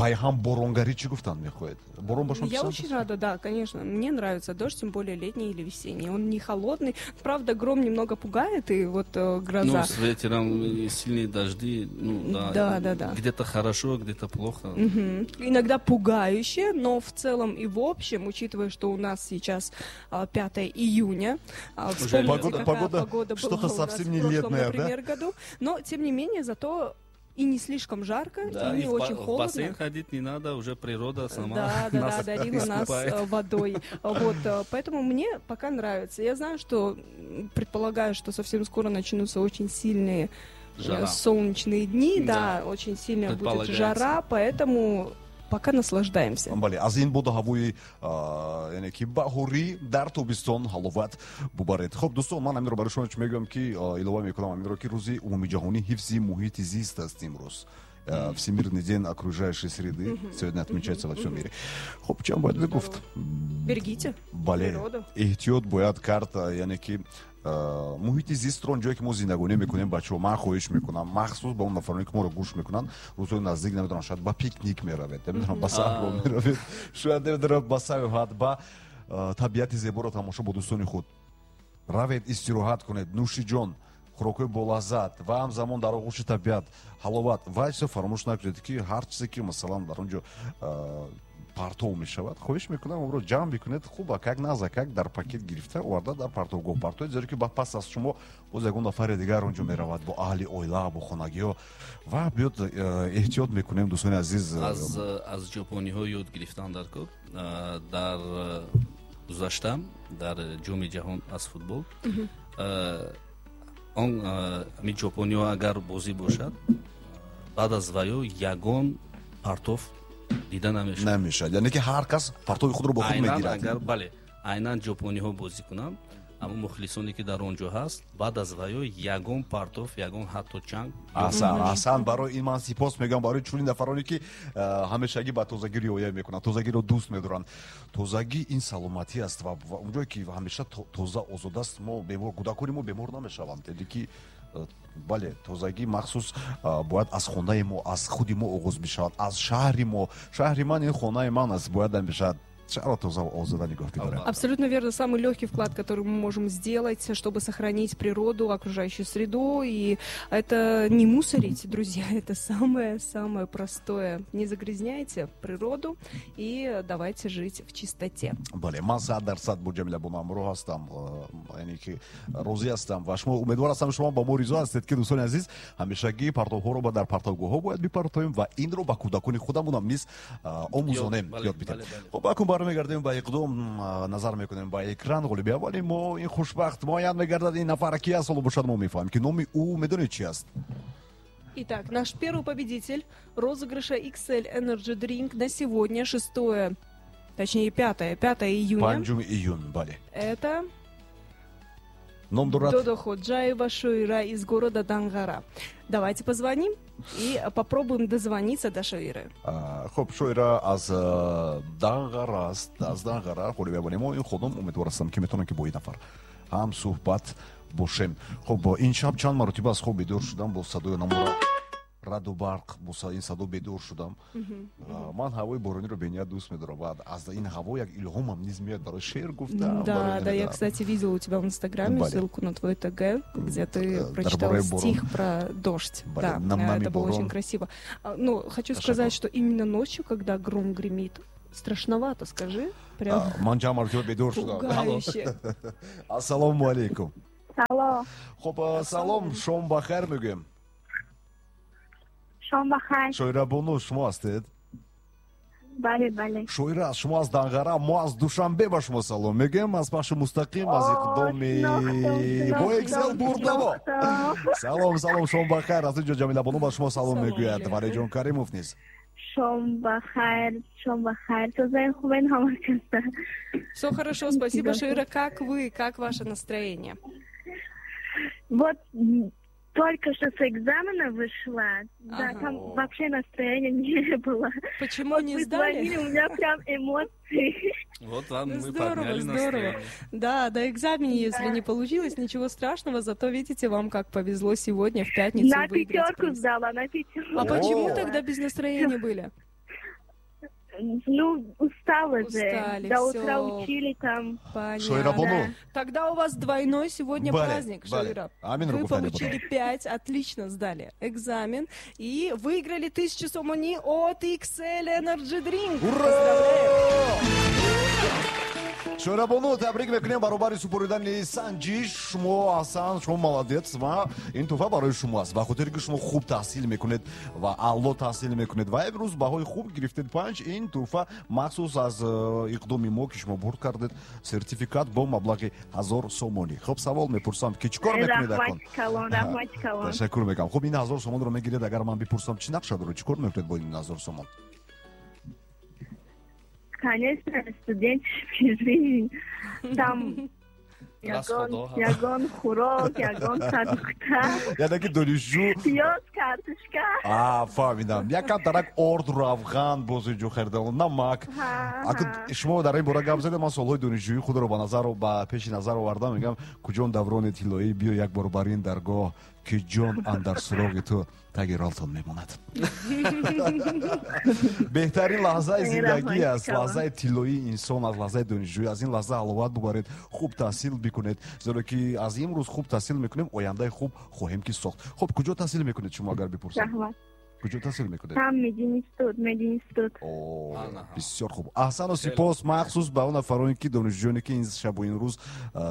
Пайҳам боронгарӣ чӣ гуфтан мехоҳед? Борон ба шумо Я очень рада, да, конечно. Мне нравится дождь, тем более летний или весенний. Он не холодный. Правда, гром немного пугает, и вот гроза. Ну, с ветером и сильные дожди, ну, да. Да. Где-то хорошо, где-то плохо. Угу. Иногда пугающе, но в целом и в общем, учитывая, что у нас сейчас 5 июня, вспомните, погода что-то совсем не летное, например, да? году. Но, тем не менее, зато и не слишком жарко, да, и не очень холодно. В бассейн ходить не надо, уже природа сама Да, дарила нас водой. Вот, поэтому мне пока нравится. Я знаю, что, предполагаю, что совсем скоро начнутся очень сильные жара. Солнечные дни, да, очень сильная будет жара, поэтому пока наслаждаемся. Бале, аз ин боду ҳавои, яъне ки баҳорӣ дар тобистон ҳаловат бубаред. Хуб, дӯстон, ман ҳаминро барои шумо чӣ мегӯям, ки илова мекунам ҳаминро, ки рӯзи умумиҷаҳонии ҳифзи муҳити зист аст имрӯз. Всемирный день окружающей среды сегодня отмечается во всем мире. Хуб, чӣ бояд бигуфт? Берегите. Бале, эҳтиёт бояд кард, яъне ки муҳити зистро, он ҷое ки мо зиндагонӣ мекунем. Бачаҳо, ман хоҳиш мекунам, махсус ба он нафароне, ки моро гӯш мекунанд, рӯзҳои наздик, намедонам, шояд ба пикник меравед, намедонам, ба саҳро меравед, шояд, намедонам, ба сайёҳат, ба табиати зеборо тамошо бо дӯстони худ равед, истироҳат кунед, нӯши ҷон, хӯрокҳои болаззат ва ҳамзамон дар оғӯши табиат ҳаловат. Ва чизо фаромӯш накунед, ки ҳар чизе ки, масалан, дар он ҷо партов мешавад, хоҳиш мекунам, онро ҷамъ бикунед, хуба как назакак дар пакет гирифта оварда дар партовгоҳ партоед, зеро ки пас аз шумо боз ягон нафари дигар он ҷо меравад бо аҳли оила, бо хонагиҳо. Ва биёд, эҳтиёт мекунем, дӯстони азиз. Аз ҷопониҳо ёд гирифтан дар кор. Дар гузашта дар Ҷоми ҷаҳон аз футбол он ҳамин ҷопониҳо агар бозӣ бошад, баъд аз ваё ягон партов дида намешавад. Намешавад, яъне ки ҳар кас партови худро бо худ мегирад. Агар, бале, айнан ҷопониҳо бозӣ кунанд, аммо мухлисоне, ки дар он ҷо ҳаст, баъд аз ваё ягон партов, ягон ҳатто чанг. Аҳсан, аҳсан. Барои ин ман сипос мегӯям барои чунин нафароне, ки ҳамешагӣ ба тозагӣ риоя мекунанд, тозагиро дӯст медоранд. Тозагӣ ин саломатӣ аст ва онҷое ки ҳамеша тоза, озод аст, мо бемор, кӯдакони мо бемор намешаванд. Яъне ки, бале, тозагӣ махсус бояд аз хонаи мо, аз худи мо оғоз бишавад, аз шаҳри мо. Шаҳри ман ин хонаи ман аст, бояд ҳамеша шаҳрро тоза, озода нигоҳ бидорем. Абсолютно верно. Самый легкий вклад, который мы можем сделать, чтобы сохранить природу, окружающую среду, и это не мусорить, друзья, это самое-самое простое. Не загрязняйте природу и давайте жить в чистоте. Бале, ман 100% бо Ҷамила бону ҳамроҳ ҳастам, яъне ки розӣ ҳастам ва шумо, умедвор ҳастам, шумо ба мо ризо ҳастед, ки, дӯстони азиз, ҳамешагӣ партовҳоро ба дар партовгоҳҳо бояд бипартоем ва инро ба кӯдакони худамонам низ омӯзонем, ёд бидем. Хуб, акун бармегардем ба иқдом, назар мекунем ба экран. Ғолиби аввали мо, ин хушбахт муайян мегардад. Ин нафар ки аст, ҳоло бошад, мо мефаҳмем, ки номи ӯ, медонед, чи аст? Итак, наш первый победитель розыгрыша XL Energy Drink на сегодня, 6, точнее 5, 5 июня. 5 июн, бале. Это ном дорад Додо Ходжаева Шоира из города Дангара. Давайте позвоним и попробуем дозвониться до Шоиры. Хуб, Шоира аз Данғара аст, аз Данғара ғолиби аввали мо ин худам. Умедвор ҳастам, ки метавонам, ки бо ин нафар ҳам суҳбат бошем. Хуб, ин шаб чанд маротиба аз хоб бедор шудам бо садои намура раъду барқ, бо ин садо бедор шудам. Ман ҳавои борониро бениҳоят дӯст медорам ва аз ин ҳаво як илҳомам низ меояд барои шеър гуфтам. Да, я, кстати, видела у тебя в Инстаграме ссылку на твой ТГ, где ты прочитал стих про дождь. Да, это было очень красиво. Ну, хочу сказать, что именно ночью, когда гром гремит, страшновато, скажи. Прям ман чанд маротиба бедор шудам. Пугающе. Ассалому алайкум. Салом. Хуб, салом, шом бахайр мегӯем. Шом бахайр. Шоира бону шумо ҳастед? Бале. Шоира, шумо аз Данғара, мо аз Душанбе ба шумо салом мегӯем, аз пахши мустақим, аз иқдоми бо XL бурдамо. Салом, салом, шом бахайр. Аз инҷо Ҷамила бону ба шумо салом мегӯяд, Валиҷон Каримов низ. Шом бахайр, шом бахайр. Тозаи хубен ҳама каса? Все хорошо, спасибо, Шоира. Как вы, как ваше настроение? Вот только что с экзамена вышла. Да, там вообще настроения не было. Почему вот не вы сдали? Звонили, у меня прям эмоции. Вот вам мы Здорово, подняли здорово. Настроение. Да, до экзамена, если не получилось, ничего страшного, зато видите, вам как повезло сегодня в пятницу На выиграть пятерку приз. Сдала, на пятерку. А почему О. тогда без настроения были? Ну, устала же. Устали, До утра всё. Учили там. Понятно. Шоирабону. Тогда у вас двойной сегодня Бале, праздник, бале. Шоира. Амин Вы Ругуфтани получили 5, отлично сдали экзамен и выиграли 1000 сомони от XL Energy Drink. Поздравляем! Шоирабону, табрик мекунем. Баробари супоридани санҷиш шумо аҳсан, шумо молодец, ва ин тӯҳфа барои шумо аст ба хотире ки шумо хуб таҳсил мекунед ва аъло таҳсил мекунед ва имрӯз баҳои хуб гирифтед, 5. Ин тӯҳфа махсус аз иқдоми мо, ки шумо бурд кардед, сертификат бо маблағи 1000 сомонӣ. Хуб, савол мепурсам, ки чӣ кор мекунед акун? Раҳмати калон, раҳмати калон. Ташаккур мекунам. Хуб, ин 1000 сомонро мегиред, агар ман бипурсам, чӣ нақша доред, чӣ кор мекунед бо ин 1000 сомон? Конечно, студенческий жизнь. Там ягон, Расходо, ҳа. ягон хӯрок, ягон продукта, Яъне ки донишҷӯ пиёз, картошка. А, фаҳмидам, якам тарак орд, равған боз инҷо харидан, намак. Ҳа, Аку ҳа. шумо дар ин бора гап задед, ман солҳои донишҷӯии худро ба пеши назар овардам, мегам, куҷон даврони тиллоӣ, биё як бор бар ин даргоҳ, ки ҷон андар суроғи ту таги ролтон мемонад. Беҳтарин лаҳзаи зиндагӣ аст, лаҳзаи тиллоии инсон аст, лаҳзаи донишҷӯӣ. Аз ин лаҳза ҳаловат бубаред, хуб таҳсил бикунед, зеро ки аз имрӯз хуб таҳсил мекунем, ояндаи хуб хоҳем ки сохт. Хуб, куҷо таҳсил мекунед шумо, агар бипурсам? Раҳмат. Куҷо таҳсил мекунед? Там мединститут, мединститут. О, Ана. бисёр хуб, аҳсану сипос, махсус ба он нафароне ки донишҷӯёне ки ин шабу ин рӯз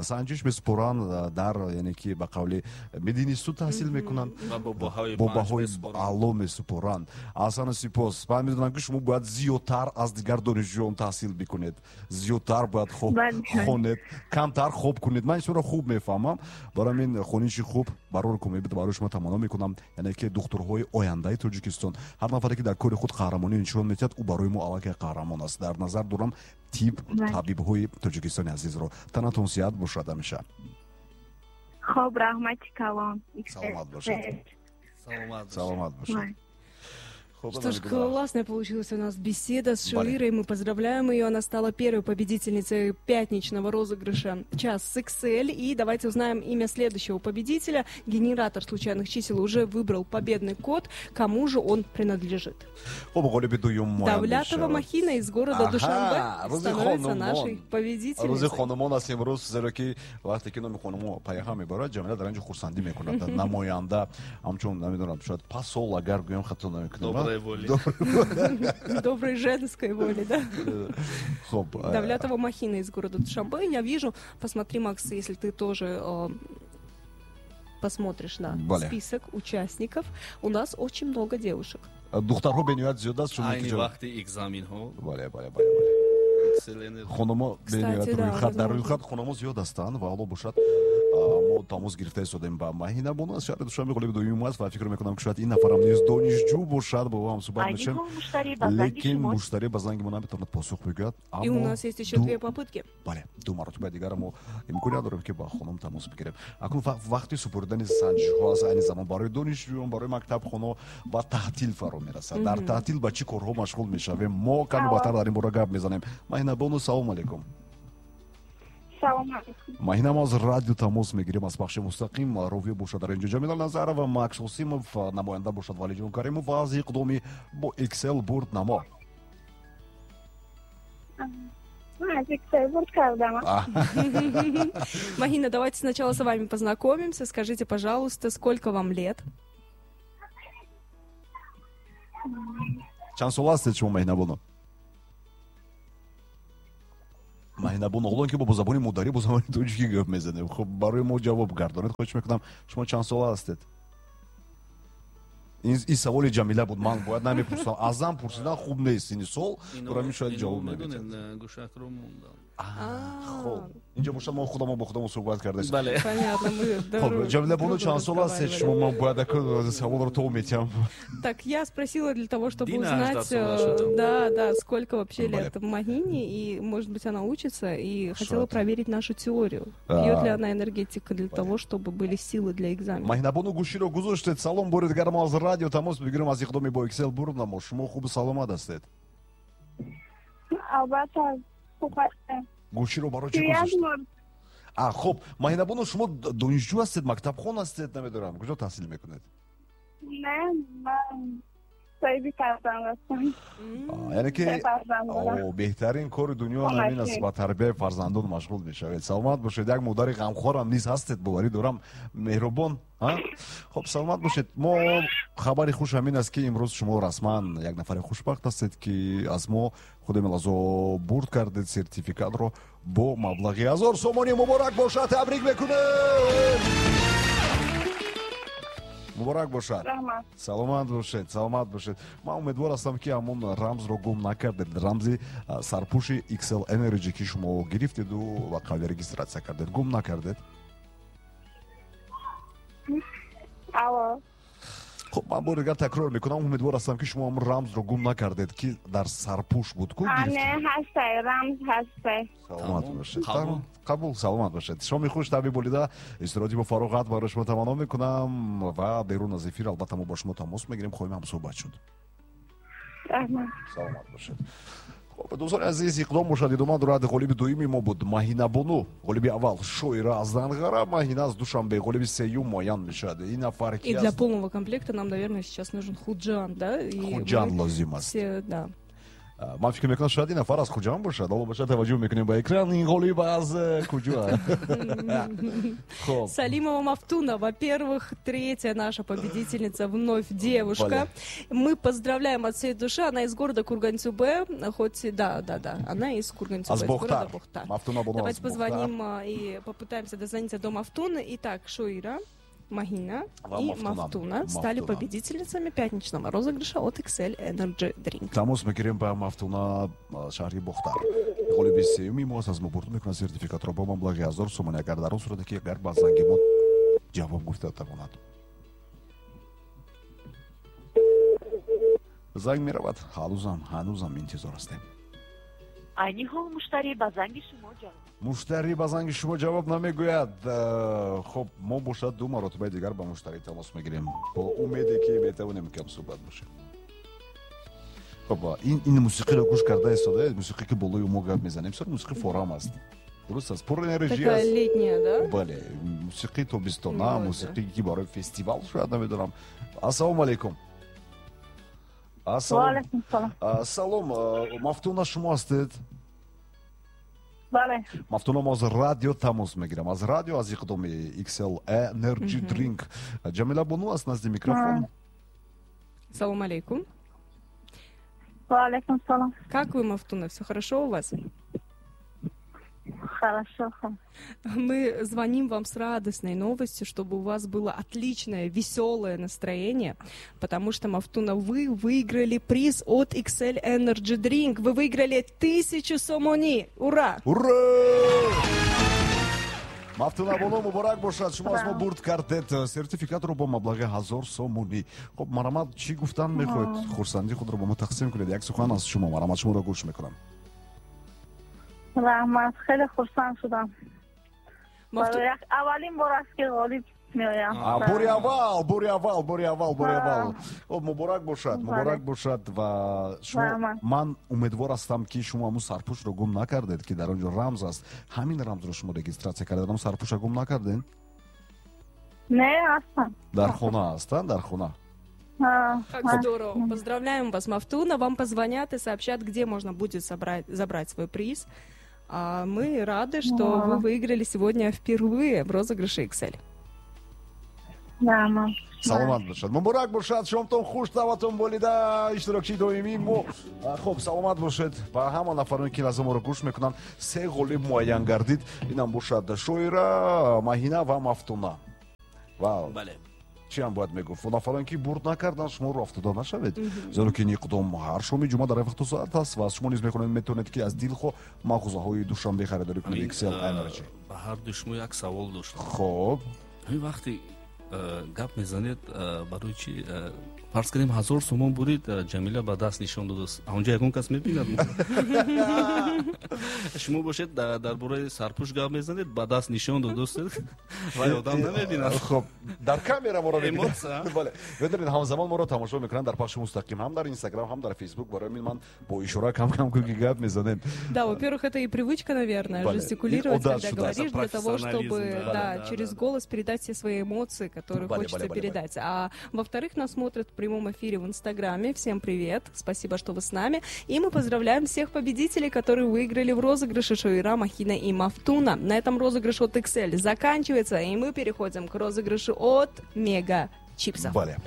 санҷиш месупоранд, дар, яъне ки ба қавли, мединститут таҳсил мекунанд Ва бо баҳои бо 5 баҳои месупоранд. аъло месупоранд. Аҳсану сипос. Ман медонам, ки шумо бояд зиёдтар аз дигар донишҷӯён таҳсил бикунед, зиёдтар бояд Бале. хонед, камтар хоб кунед. Ман ин хуб мефаҳмам. Барои ҳамин хониши хуб барор кумебид барои шумо таманно мекунам, яъне ки духтурҳои ояндаи Тоҷикистон. Ҳар нафаре ки дар кори худ қаҳрамонӣ нишон медиҳад, ӯ барои мо аллакай қаҳрамон аст. Дар назар дорам тиб, Бале. табибҳои Тоҷикистони азизро. Танатон сиҳат бошад ҳамеша. Хоб, раҳмати калон. Саломат бошед. Саломат бошед. Саломат бошед. Бале. Хуб, Что ж, классная получилась у нас беседа с Бале. Шоирой. Мы поздравляем ее. Она стала первой победительницей пятничного розыгрыша «Час с XL». И давайте узнаем имя следующего победителя. Генератор случайных чисел уже выбрал победный код. Кому же он принадлежит? Хуб, ғолиби дуюм муайян Давлятова мешавад. Махина из города Ага, Душанбе рӯзи становится хонумон. нашей Рӯзи победительницей. хонумон аст имрӯз, зеро ки вақте ки номи хонумо пайҳам мебарад, Ҷамила дар инҷо хурсандӣ мекунад. Намоянда ҳамчун, намедонам, шояд посол, агар гӯям, хато намекунам. Доброй воли. Доброй женской воли, да? Хуб, Давлятова Махина из города Душанбе. Я вижу, посмотри, Макс, если ты тоже посмотришь на Бале. список участников, у нас очень много девушек. Духтарҳо бениҳоят зиёд аст, чун Айни вақти экзаменҳо бале бале бале бале XL Energy. Хономо Кстати, бениҳоят да, рӯйхат, дар возможно. рӯйхат хономо зиёд ҳастанд. Ва ҳоло бошад, мо тамос гирифта истодем ба Маҳина бону аз шаҳри Душанбе, ғолиби дуюм аст, ва фикр мекунам, ки шояд ин нафарам низ донишҷӯ бошад, бо ҳам суҳбат мешавем, лекин муштарӣ ба занги мо наметавонад посух бигӯяд. И у нас есть еще две попытки. Бале, ду маротиба дигар мо имконият дорем, ки ба хонум тамос бигирем. Акнун вақти супоридани санҷишҳо аст, айни замон барои донишҷӯён, барои мактабхоно, ва таътил фаро мерасад. Дар таътил ба чӣ корҳо машғул мешавем, мо ками баъдтар дар ин бора гап мезанем. Маҳина бону, салому алейкум. Салом алейкум. Маҳина, мо аз радио тамос мегирем, аз пахши мустақим. Ровӣ бошад дар инҷо Ҷамила Назарова, Макс Осимов, намоянда бошад Валиҷон Каримов ва аз иқдоми бо Excel бурд намо. Аз XL бурд кардам. Махина, давайте сначала с вами познакомимся. Скажите, пожалуйста, сколько вам лет? Чанд сола ҳастед шумо, Маҳина бону? Маҳина бону, ҳолон ки бо забони модарӣ, бо забони тоҷикӣ гап мезанем, хуб, барои мо ҷавоб гардонед, хоҳиш мекунам, шумо чанд сола ҳастед? Ин саволи Ҷамила буд, ман бояд намепурсам. Аз зан пурсидан хуб нест ини сол, барои ҳамин шояд ҷавоб намедиҳад. Медонед, гӯшакро мондам. Хуб, инҷо бошад, мо худамо бо худамо суҳбат кардаем. Бале. Понятно, мы Хуб, Ҷамила бону, чанд сола ҳастед шумо? Ман бояд саволро то метиҳам. Так, я спросила для того, чтобы Дина узнать, аж до да, сколько вообще лет Махине, и, может быть, она учится, и хотела проверить нашу теорию. Пьет ли она энергетик для того, чтобы были силы для экзамена. Маҳина бону, гӯширо гузоштед. Салом, бори дигар мо аз радио тамос мегирем, аз иқдоми бо Excel бурд намо. Шумо хубу саломат ҳастед? Албатта, хуб ҳастам. Гӯширо барои чӣ гузоштед? А, хуб, Маҳина бону, шумо донишҷӯ ҳастед, мактабхон ҳастед, намедонам, куҷо таҳсил мекунед? Не, ман Соҳиби фарзанд ҳастам. Яъне ки беҳтарин кори дунё ҳамин аст, ба тарбияи фарзандон машғул мешавед. Саломат бошед. Як модари ғамхорам низ ҳастед, боварӣ дорам, меҳрубон. Хоб, саломат бошед. Мо хабари хуш ҳамин аст, ки имрӯз шумо расман як нафари хушбахт ҳастед, ки аз мо худи мелазо бурд кардед сертификатро бо маблағи 1000 сомонӣ. Муборак бошад, табрик мекунем. Муборак бошад. Саломат бошед, саломат бошед. Ман умедвор ҳастам, ки ҳамон рамзро гум накардед, рамзи сарпӯши XL Energy, ки шумо гирифтеду ва қавли регистрация кардед, гум накардед. Хуб, ман бори дигар такрор мекунам, умедвор ҳастам, ки шумо ҳамон рамзро гум накардед, ки дар сарпӯш буд ку. Ҳастай, рамз ҳастай. Саломат бошед. Қабул, саломат бошед. Шоми хуш, таби болида, истироҳати бо фароғат барои шумо таманно мекунам ва берун аз эфир албатта мо бо шумо тамос мегирем, хоҳем ҳамсӯҳбат шуд. Саломат бошед. Дӯстони азиз, иқдом бошад идома дорад. Ғолиби дуюми мо буд Маҳинабону, ғолиби аввал Шоира аз Данғара, Маҳина аз Душанбе, ғолиби сеюм муайян мешавад. Ин нафар ки И для полного комплекта нам, наверное, сейчас нужен Худжанд, да? Худжанд лозим аст. Да. Ман фикр мекунам, шояд ин нафар аз Хуҷанд бошад. Ҳоло бошад, таваҷҷӯҳ мекунем ба экран. Ин ғолиб аз куҷо? Салимова Мафтуна, во-первых, третья наша победительница, вновь девушка. Мы поздравляем от всей души. Она из города Курган-Тюбе, хоть да, она из Курган-Тюбе, из города Бохтар. Давайте позвоним и попытаемся дозвониться до Мафтуны. Итак, Шоира, Махина и Мафтуна стали победительницами пятничного розыгрыша от XL Energy Drink. Тамос мекунем ба Мафтуна, шаҳри Бохтар. Ғолиби сеюми мо аз мо бурд мекунад сертификатро бо маблағи 1000 сомонӣ, агар дар он сурате ки агар ба занги мо ҷавоб гуфта тавонад. Занг меравад, ҳанӯзам интизор ҳастем. Айни ҳол муштарӣ ба занги шумо ҷавоб Муштарӣ ба занги шумо ҷавоб намегӯяд. Хоб, мо бошад ду маротибаи дигар ба муштарӣ тамос мегирем, бо умеде ки метавонем кам суҳбат бошем. Хоб, ин мусиқиро гӯш карда истодаед, мусиқӣ ки болои мо гап мезанем, бисёр мусиқи форам аст. Дуруст аст, пур энержи аст. Летняя, да? Бале, мусиқии тобистона, мусиқие ки барои фестивал шояд, намедонам. Ассалому алайкум. Салом, Мафтуна шумо ҳастед? Бале. Мафтуна, мо аз радио тамос мегирам, аз радио, аз иқдоми XL Energy Drink. Ҷамила Бону аст назди микрофон. Салом алейкум. Ва алейкум салом. Как вы, Мафтуна, все хорошо у вас? Хорошо. Мы звоним вам с радостной новостью, чтобы у вас было отличное, веселое настроение, потому что, Мафтуна, вы выиграли приз от XL Energy Drink. Вы выиграли 1000 сомони. Ура! Ура! Мафтуна Бону, муборак бошад. Шумо аз мо бурд кардед сертификатро бо маблағи 1000 сомонӣ. Хоб, марҳамат, чӣ гуфтан мехоҳед? Хурсандии худро бо мо тақсим кунед. Як сухан аз шумо, марҳамат, шуморо гӯш мекунам. Раҳмат, хеле хурсанд шудам. Аввалин бор аст, ки ғолиб меоям. Бори аввал, бори аввал, бори аввал, бори аввал. Хоб, муборак бошад, муборак бошад. Ва шумо, ман умедвор ҳастам, ки шумо ҳамун сарпӯшро гум накардед, ки дар он ҷо рамз аст. Ҳамин рамзро шумо регистрация кардед, ҳамун сарпӯшро гум накардед? Не, ҳастам. Дар хона ҳастанд, дар хона. Как здорово. Поздравляем вас, Мафтуна. Вам позвонят и сообщат, где можно будет забрать свой приз. А мы рады, что вы выиграли сегодня впервые в розыгрыше XL. Саломат бошад, муборак бошад, шомтон хуш, таватон болида, иштирокчии доимии мо. Хоб, саломат бошед. Ба ҳама нафароне, ки лаҳза моро гӯш мекунанд, се ғолиб муайян гардид. Инам бошад Шоира, Маҳина ва Мафтуна. Бале. Чӣ ҳам бояд мегуфт? Нафароне, ки бурд накарданд, шумо роҳ афтода нашавед, зеро ки ин иқдом ҳар шоми ҷумъа дар вақту соат аст ва шумо низ мехонед, метавонед, ки аз дилхоҳ мағозаҳои Душанбе харидорӣ кунед XL Energy. Ба ҳар ду шумо як савол доштам. Хоб, ҳамин вақте гап мезанед, барои чӣ, фарз кардем, 1000 сомон бурид, Ҷамила ба даст нишон додааст, онҷо ягон кас мебинад? Шумо бошед, дар бораи сарпӯш гап мезанед, ба даст нишон додааст, вай одам намебинад. Хоб, дар камера моро мебинад. Бале, медонед, ҳамзамон моро тамошо мекунанд дар пахши мустақим ҳам дар Инстаграм, ҳам дар Фейсбук. Барои мин ман бо ишора кам кам ки гап мезанем. Да, во-первых, это и привычка, наверное, жестикулировать, когда говоришь, для того, чтобы через голос передать все свои эмоции, которые хочется передать. А во-вторых, нас смотрят в прямом эфире в Инстаграме. Всем привет, спасибо, что вы с нами. И мы поздравляем всех победителей, которые выиграли в розыгрыше Шоира, Махина и Мафтуна. На этом розыгрыш от XL заканчивается, и мы переходим к розыгрышу от Мега Чипсов. Бале.